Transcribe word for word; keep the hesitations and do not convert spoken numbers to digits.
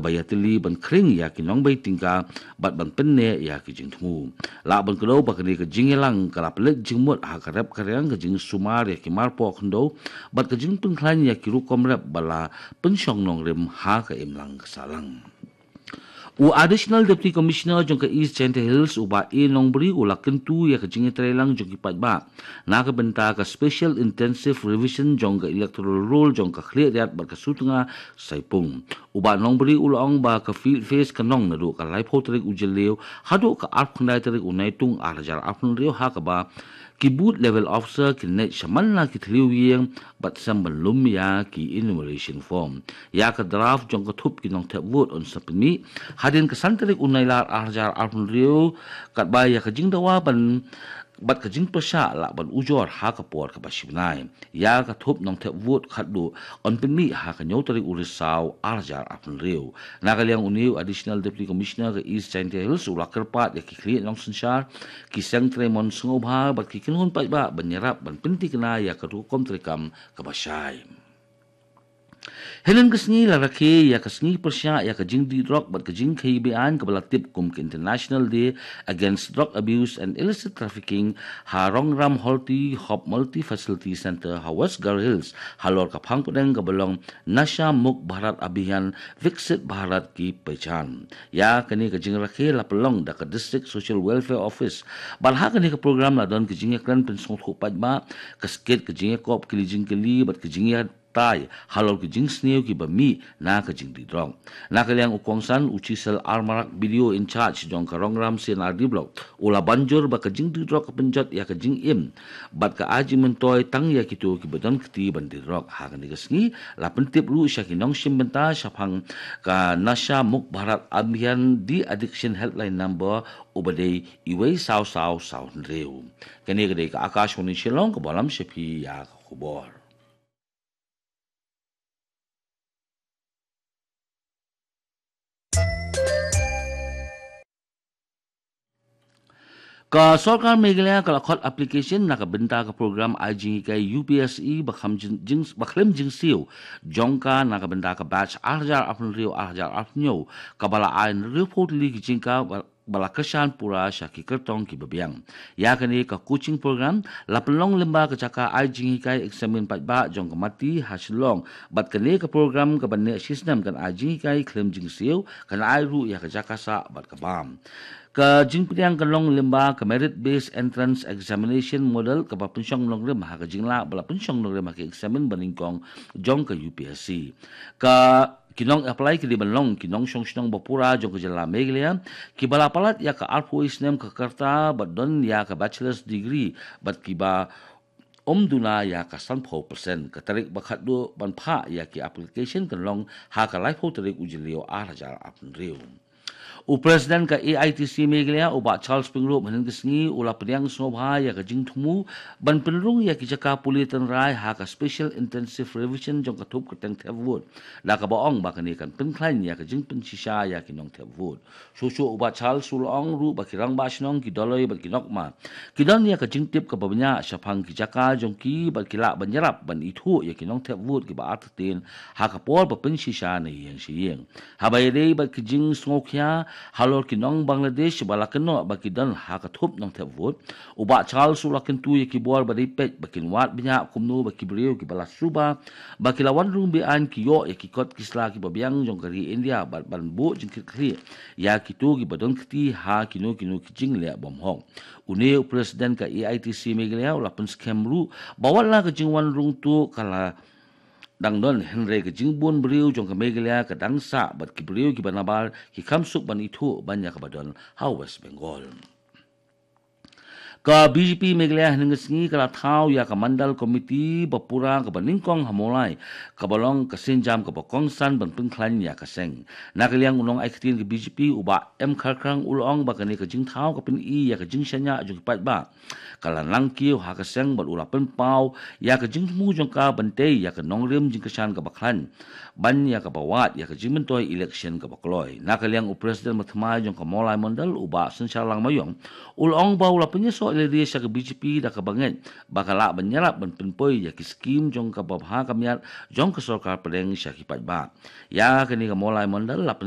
ba ïatylli ban khring ïa ki nongbei tyngka bad ban pynneh ïa ki jingthmu. Lah ban kdew ba kane ka jingïalang ka la pynleit jingmut ha ka rep ka riang ka jingsumar ïa ki marpoh khyndew bad ka jingpynkhlaiñ ïa ki rukom rep ba la pynshong nongrim ha ka imlang ka sahlang. U Additional Deputy Commissioner jong ka East Jaintia Hills, u Bah A Nongbri, u la kyntu ïa ka jingïatreilang jong ki paidbah na ka bynta ka Special Intensive Revision jong ka Electoral Roll jong ka Khliehriat bad ka Sutnga Saipung. U Bah Nongbri u la ong ba ka field phase kan long naduh ka laiphew tarik u Jylliew haduh ka arphew khyndai tarik u Naitung arhajar arphew hynriew, ha kaba ki booth level officer kin leit shaman la ki thliew ïing bad sem ban lum ïa ki enumeration form. Ïa ka draft jong ka thup ki nongthep vote yn sa pynmih hadien ka san tarik u Nailar arhajar arphew hynriew, katba ïa ka jingdawa ban bad ka jingpyrshah lah ban ujor ha ka por kaba shi bnai. Ïa ka thup nongthep vote khatduh yn pynmih ha ka hynñiew tarik u Risaw arhajar arphew hynriew. Na ka liang une u Additional Deputy Commissioner ka East Jaintia Hills u la kyrpad ïa ki khlieh nongsynshar, ki seng trei mon sngewbha bad ki kynhun paidbah ban ïarap ban pynthikna ïa ka rukom treikam kaba shai. Hynnin ka sngi la rakhe ïa ka sngi pyrshah ïa ka jingdih drok bad ka jingkhaïi be-aiñ kaba la tip kum ka International Day Against Drug Abuse and Illicit Trafficking ha Rongram Horti Hub Multi Facility Centre ha West Garo Hills, halor ka phang pdeng kaba long Nasha Mukt Bharat Abhiyan, Viksit Bharat Ki Pehchan. Ïa kane ka jingrakhe la pynlong da ka District Social Welfare Office. Bad ha kane ka program la don ka jingïakren pynsngewthuh paidbah, ka skit, ka jingïakop kylli jingkylli bad ka jingïa tai halor ki jingsniew kiba mih na ka jingdih drok. Na ka liang u kongsan u Chisel R Marak, B D O in charge jong ka Rongram C and R D Block, u la ban jur ba ka jingdih drok ka pynjot ïa ka jingim bad ka ai jingmyntoi tang ïa kito kiba don kti ban dih drok. Ha kane ka sngi la pyntip ruh sha ki nongshim bynta shaphang ka Nasha Mukt Bharat Abhiyan De-Addiction Helpline Number, uba dei uwei saw saw saw hynriew. Kane ka dei ka Akashvani Shillong kaba lam sha phi ïa ka khubor. Ka Sorkar Meghalaya ka la khot application na ka bynta ka program ai jinghikai U P S C ba khlem jing, jing, ba khlem jingsiew jong ka na ka bynta ka batch arhajar arphew hynriew arhajar arphew hynñiew, kaba la ai hynriewphew tylli ki jingkha ba, ba la kyrshan pura sha ki kyrtong kiba biang. Ïa kane ka coaching program la pynlong lyngba ka jaka ai jinghikai eksamin paidbah jong ka MeitY ha Shillong, bad kane ka program kaba neh shisnem kan ai jinghikai khlem jingsiew kan ai ruh ïa ka jaka sah bad ka bam. Ka jingpdiang kan long lyngba ka Merit Based Entrance Examination Model kaba pynshong nongrim ha ka jinglah ba la pynshong nongrim ha ka eksamin banyngkong jong ka U P S C. Ka ki nong apply ki dei ban long ki nongshong shnong ba pura jong ka jylla Meghalaya, kiba la palat ïa ka arphew snem ka rta bad don ïa ka bachelor's degree bad kiba ym duna ïa ka sanphew percent. Ka tarik ba khatduh ban phah ïa ki application kan long ha ka laiphew tarik u Jylliew arhajar arphew hynriew. U President ka A I T C Meghalaya, u Bah Charles Pyngrope, hynnin ka sngi u la pdiang sngewbha ïa ka jingthmu ban pynrung ïa ki jaka pule tynrai ha ka Special Intensive Revision jong ka thup kyrteng thep vote, da kaba ong ba kane kan pynkhlaiñ ïa ka jingpynshisha ïa ki nongthep vote. Shuh shuh u Bah Charles u la ong ruh ba ki rangbah shnong, ki dolloi bad ki nokma ki don ïa ka jingtip kaba bniah shaphang ki jaka jong ki bad ki lah ban ïarap ban ithuh ïa ki nongthep vote kiba artatien ha ka por ba pynshisha na ïing sha ïing. Haba ïadei bad ki jingsngewkhia halor ki nong Bangladesh ba la kynnoh ba ki don ha ka thup nongthep vote, u Bah Charles u la kyntu ïa ki bor ba dei peit ba kin wad bniah kumno ba ki briew kiba la suba ba ki la wan rung be-aiñ ki ïoh ïa ki kot ki sla kiba biang jong ka ri India bad ban buh jingkitkhlieh ïa kito kiba don kti ha kino kino ki jingleh bymhok. Une u President ka A I T C Meghalaya u la pynskhem ruh ba wat la ka jingwan rung tuh ka la dang don, hynrei ka jingbun briew jong ka Meghalaya ka dang sah bad ki briew kiba nabar ki kham suk ban ithuh ban ïa kaba don ha West Bengal. Ka B J P Meghalaya hynnin ka sngi ka la thaw ïa ka Mandal Committee ba pura kaba nyngkong ha Mawlai, kaba long ka sienjam kaba kongsan ban pynkhlaiñ ïa ka seng. Na ka liang u nongai ktien ka B J P u Bah M Kharkhrang u la ong ba kane ka jingthaw ka pyni ïa ka jingshaniah jong ki paidbah. Ka la nang kiew ha ka seng bad u la pynpaw ïa ka jingthmu jong ka ban tei ïa ka nongrim jingkyrshan kaba khlaiñ ban ïa kaba wad ïa ka jingmyntoi election kaba kloi. Na ka liang u President ba thymmai jong ka Mawlai Mandal u Bah Synshar Langmayong u la ong ba u la pynïasoh Lady sha ka B J P da kaba ngeit ba ka lah ban ïarap ban pynpoi ïa ki skim jong ka babha ka miat jong ka sorkar pdeng sha ki paidbah. Ïa kane ka Mawlai Mondal la pyn